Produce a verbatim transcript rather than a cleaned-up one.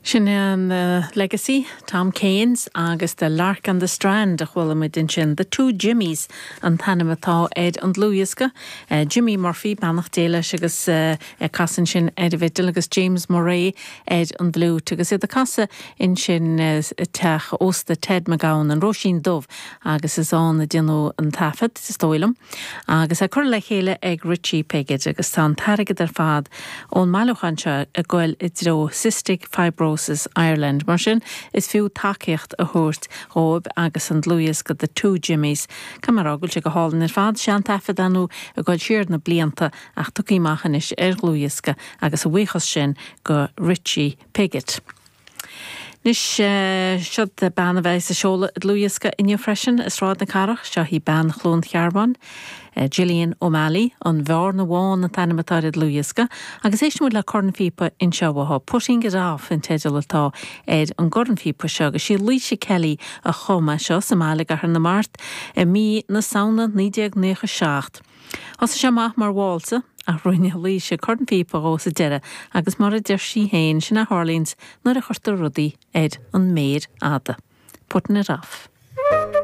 Sin an uh, Legacy, Tom Keynes agus The Lark on the Strand a chuala muid ansin, The Two Jimmies an t-ainm atá ar an dlúthdhiosca. Uh, Jimmy Murphy beannacht Dé leis agus uh, casann sin ar an bhfidil agus James Murray ar an bhfliúit agus iad ag casadh ansin uh, teach ósta Ted McGowan an Róisín Dubh agus is ann a deineadh an taifead is dóigh liom. agus é curtha le chéile ag Richie Piggott agus tá an t-airgead ar fad ón mbailiúchán seo ag goil i dtreo Cystic Fibrosis Ireland. Mar sin is fiú tacaíocht a thabhairt dóibh agus an dlúthdhiosca The Two Jimmies. Camará sé go hálainn ar fad seantaifead anú a goil siar na blianta ach tugtha amach anois ar dhlúthdhiosca agus a bhuíochas sin go Richie Piggott. Anois seo bean a bheas ag seoladh dlúthdhiosca inniu freisin i Sráid na Cathrach seo í bean Chluain Chearbán, Gillian O'Malley an Bhearna Bhán an t-ainm atá ar an dlúthdhiosca, agus éistfimid le cornphíopa anseo uaithi Putting it off an teideal atá ar an gcornphíopa seo agus sí Laoise Kelly a chum é seo sa mbaile i gCathair na Mart i mí na Samhna naoi déag nócha seacht. Thosaigh sé amach mar válsa ach rinne Laoise cornphíopa dhó sa deireadh agus mar a deir sí féin sin a tharlaíonn nuair a chuirtear rudaí ar an méar fhada. Putting it off.